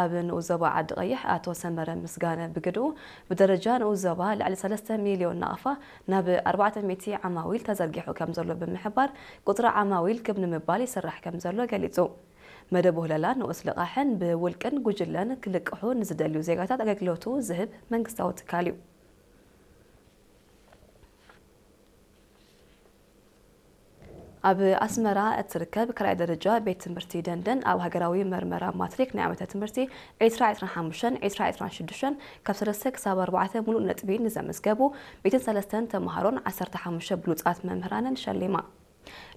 ኣብ ንኡስ ዞባ ዓዲ ቀይሕ ኣቶ ሰመረ ምስጋነ ብግድኡ፣ ብደረጃ ንኡስ ዞባ ልዕሊ ሰለስተ ሚልዮን ናቕፋ ናብ ኣርባዕተ ሚእቲ ዓማዊል ተዘርጊሑ ከም ዘሎ ብምሕባር፣ ቁጽሪ ዓማዊል ክብ ንምባል ይስራሕ ከም ዘሎ ገሊጹ። መደብ ውህለላ ንኡስ ልቓሕን ብውልቅን ጉጅለን ክልቅሑ ንዝደልዩ ዜጋታት ኣገልግሎቱ ዝህብ መንግስታዊ ትካል እዩ። ኣብ ኣስመራ እትርከብ ካልኣይ ደረጃ ቤት ትምህርቲ ደንደን፣ ኣብ ሃገራዊ መርመራ ማትሪክ ናይ ዓመተ ትምህርቲ ዕስራ ዕስራን ሓሙሽተን ዕስራ ዕስራን ሽዱሽተን ካብ ሰለስተ ክሳብ ኣርባዕተ ሙሉእ ነጥቢ ንዘመዝገቡ ሚእትን ሰለስተን ተምሃሮን ዓሰርተ ሓሙሽተ ብሉጻት መምህራንን ሸሊማ።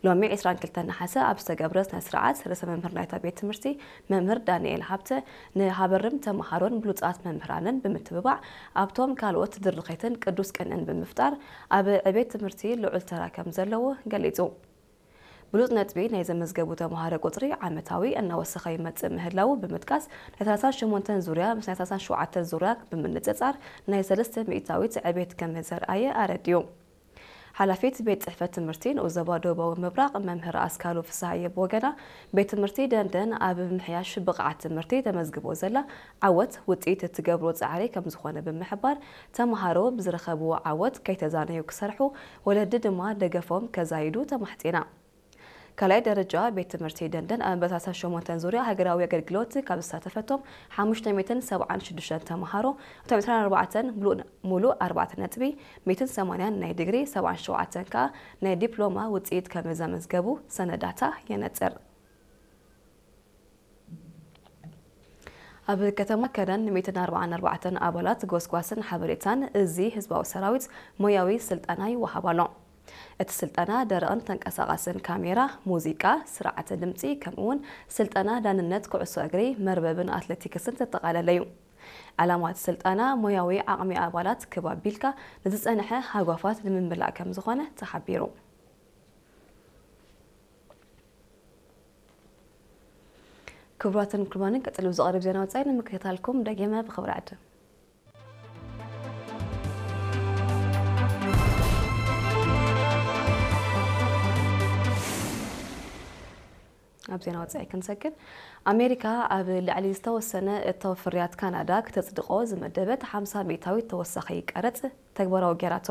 ሎሚ ዕስራን ክልተን ነሓሰ ኣብ ዝተገብረ ስነ ስርዓት፣ ርእሰ መምህር ናይታ ቤት ትምህርቲ መምህር ዳንኤል ሃብተ፣ ንሃበርም ተምሃሮን ብሉጻት መምህራንን ብምትብባዕ፣ ኣብቶም ካልኦት ድርኺትን ቅዱስ ቅንእን ብምፍጣር፣ ኣብ ዕቤት ትምህርቲ ልዑል ተራ ከም ዘለዎ ገሊጹ። ብሉጽ ነጥቢ ናይ ዘመዝገቡ ተምሃሮ ቁጽሪ ዓመታዊ እናወሰኸ ይመጽእ ምህላዉ ብምጥቃስ፣ ናይ ሰላሳን ሸሞንተን ዙርያ ምስ ናይ ሰላሳን ሸውዓተን ዙርያ ብምንጽጻር ናይ ሰለስተ ሚእታዊት ዕቤት ከም ዘርኣየ ኣረዲኡ። ሓላፊት ቤት ጽሕፈት ትምህርቲ ንኡስ ዞባ ደቡባዊ ምብራቕ መምህር ኣስካሉ ፍስሃየ ብወገና፣ ቤት ትምህርቲ ደንደን ኣብ ምምሕያሽ ብቕዓት ትምህርቲ ተመዝግቦ ዘላ ዓወት ውጽኢት እትገብሮ ጻዕሪ ከም ዝኾነ ብምሕባር፣ ተምሃሮ ብዝረኸብዎ ዓወት ከይተዛነዩ ክሰርሑ፣ ወለዲ ድማ ደገፎም ከዛይዱ ተማሕጺና። ካልኣይ ደረጃ ቤት ትምህርቲ ደንደን ኣብ መበል ሰላሳን ሸሞንተን ዙርያ ሃገራዊ ኣገልግሎት ካብ ዝሳተፈቶም ሓሙሽተ ሚእትን ሰብዓን ሽዱሽተን ተምሃሮ፣ እቶም ዕስራን ኣርባዕተን ሙሉእ ኣርባዕተ ነጥቢ፣ ሚእትን ሰማንያን ናይ ዲግሪ፣ ሰብዓን ሸውዓተን ከኣ ናይ ዲፕሎማ ውጽኢት ከም ዘመዝገቡ ሰነዳታ የነጽር። ኣብ ከተማ ከረን ሚእትን ኣርባዓን ኣርባዕተን ኣባላት ጎስጓስን ሓበሬታን እዚ ህዝባዊ ሰራዊት ሞያዊ ስልጠና ይወሃብ ኣሎ። እቲ ስልጠና ደረቕን ተንቀሳቓስን ካሜራ፣ ሙዚቃ፣ ስርዓተ ድምጺ፣ ከምኡ'ውን ስልጠና ዳንነት ኩዕሶ እግሪ፣ መርበብን ኣትሌቲክስን ዘጠቓለለ እዩ። ዕላማ እቲ ስልጠና ሞያዊ ዓቕሚ ኣባላት ክብ ኣቢልካ ንዝጸንሐ ሃጓፋት ንምምላእ ከም ዝኾነ ተሓቢሩ። ክቡራትን ክቡራንን፣ ቀጺሉ ዝቐርብ ዜና ወጻኢ ንምክትታልኩም ደጊመ ብኽብሪ ዕድም። ኣብ ዜና ወጻኢ ክንሰግር፣ ኣሜሪካ ኣብ ልዕሊ ዝተወሰነ እታው ፍርያት ካናዳ ክተጽድቆ ዝመደበት ሓምሳ ሚእታዊት ተወሳኺ ቀረጽ ተግባራዊ ገይራቶ።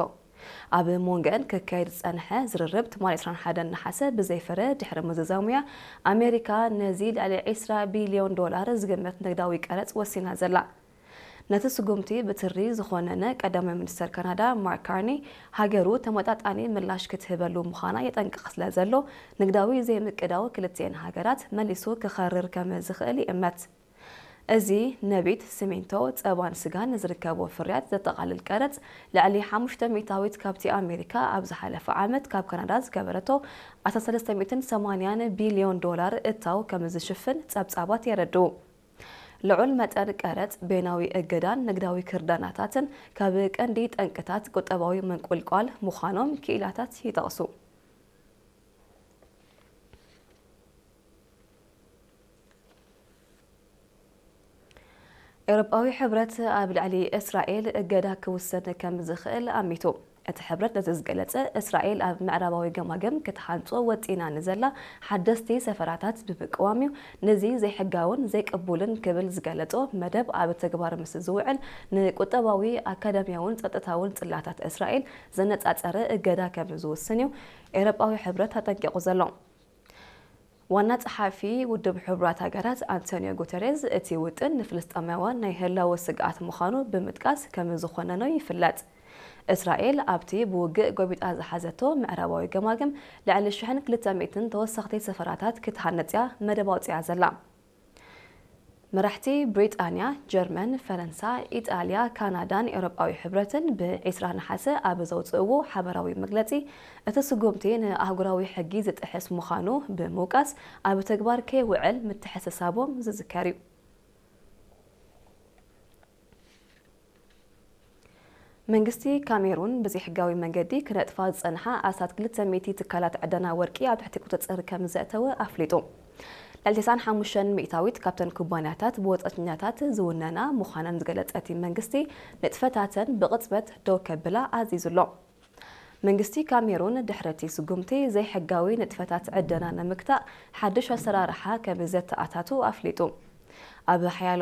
ኣብ መንጎአን ክካየድ ዝጸንሐ ዝርርብ ትማሊ ዕስራን ሓደን ነሓሰ ብዘይፍረ ድሕሪ ምዝዛሙያ፣ ኣሜሪካ ነዚ ልዕሊ ዕስራ ቢልዮን ዶላር ዝግመት ንግዳዊ ቀረጽ ወሲና ዘላ። ነቲ ስጉምቲ ብትሪ ዝኾነነ ቀዳማይ ሚኒስተር ካናዳ ማርክ ካርኒ፣ ሃገሩ ተመጣጣኒ ምላሽ ክትህበሉ ምዃና የጠንቅቕ ስለ ዘሎ፣ ንግዳዊ ዘይምቅዳው ክልቲኤን ሃገራት መሊሱ ክኸርር ከም ዝኽእል ይእመት። እዚ ነቢት፣ ሲሚንቶ፣ ጸባን ስጋን ዝርከቦ ፍርያት ዘጠቓልል ቀረጽ፣ ልዕሊ ሓሙሽተ ሚእታዊት ካብቲ ኣሜሪካ ኣብ ዝሓለፈ ዓመት ካብ ካናዳ ዝገበረቶ ኣስራ ሰለስተ ሚእትን ሰማንያን ቢልዮን ዶላር እታው ከም ዝሽፍን ጸብጻባት የረድኡ። ልዑል መጠን ቀረጽ፣ በይናዊ እገዳን ንግዳዊ ክርዳናታትን ካብ ቀንዲ ጠንቅታት ቁጠባዊ ምንቁልቋል ምዃኖም ክኢላታት ይጠቕሱ። ኤውሮጳዊ ሕብረት ኣብ ልዕሊ እስራኤል እገዳ ክውሰን ከም ዝኽእል ኣሚቱ። እቲ ሕብረት ነዚ ዝገለጸ፣ እስራኤል ኣብ ምዕራባዊ ገማግም ክትሃንጾ ወጢና ንዘላ ሓደስቲ ሰፈራታት ብምቅዋም እዩ። ነዚ ዘይሕጋውን ዘይቅቡልን ክብል ዝገለጾ መደብ ኣብ ተግባር ምስ ዝውዕል፣ ንቁጠባዊ፣ ኣካዳሚያውን ጸጥታውን ጽላታት እስራኤል ዘነጻጸረ እገዳ ከም ዝውስን እዩ ኤውሮጳዊ ሕብረት ኣጠንቂቑ ዘሎ። ዋና ጸሓፊ ውድብ ሕቡራት ሃገራት ኣንቶኒዮ ጉተሬዝ፣ እቲ ውጥን ንፍልስጤማውያን ናይ ህላወ ስግኣት ምዃኑ ብምጥቃስ፣ ከም ዝኾነኖ ይፍለጥ። እስራኤል ኣብቲ ብውግእ ጎቢጣ ዝሓዘቶ ምዕራባዊ ገማግም፣ ልዕሊ ሽሕን ክልተ ሚእትን ተወሰኽቲ ሰፈራታት ክትሃንጽ እያ መደብ ኣውጺኣ ዘላ። መራሕቲ ብሪጣንያ፣ ጀርመን፣ ፈረንሳ፣ ኢጣልያ፣ ካናዳን ኤውሮጳዊ ሕብረትን ብዒስራ ነሓሰ ኣብ ዘውጽእዎ ሓበራዊ መግለጺ፣ እቲ ስጉምቲ ንኣህጉራዊ ሕጊ ዝጥሕስ ምዃኑ ብምውቃስ፣ ኣብ ተግባር ከይውዕል ምትሕስሳቦም ዝዝከር እዩ። መንግስቲ ካሜሩን ብዘይሕጋዊ መንገዲ ክነጥፋ ዝጸንሓ ኣስታት ክልተ ሚእቲ ትካላት ዕደና ወርቂ ኣብ ትሕቲ ቁጽጽር ከም ዘእተወ ኣፍሊጡ። ልዕሊ ተስዓን ሓሙሽተን ሚእታዊት ካብተን ኩባንያታት ብወጻእተኛታት ዝውነና ምዃነን ዝገለጸ እቲ መንግስቲ፣ ንጥፈታተን ብቕጽበት ደው ከብላ ኣዚዙ ኣሎ። መንግስቲ ካሜሩን ድሕሪ እቲ ስጉምቲ ዘይሕጋዊ ንጥፈታት ዕደና ንምግታእ ሓድሽ ኣሰራርሓ ከም ዘተኣታቱ ኣፍሊጡ። ኣብ ሓያሎ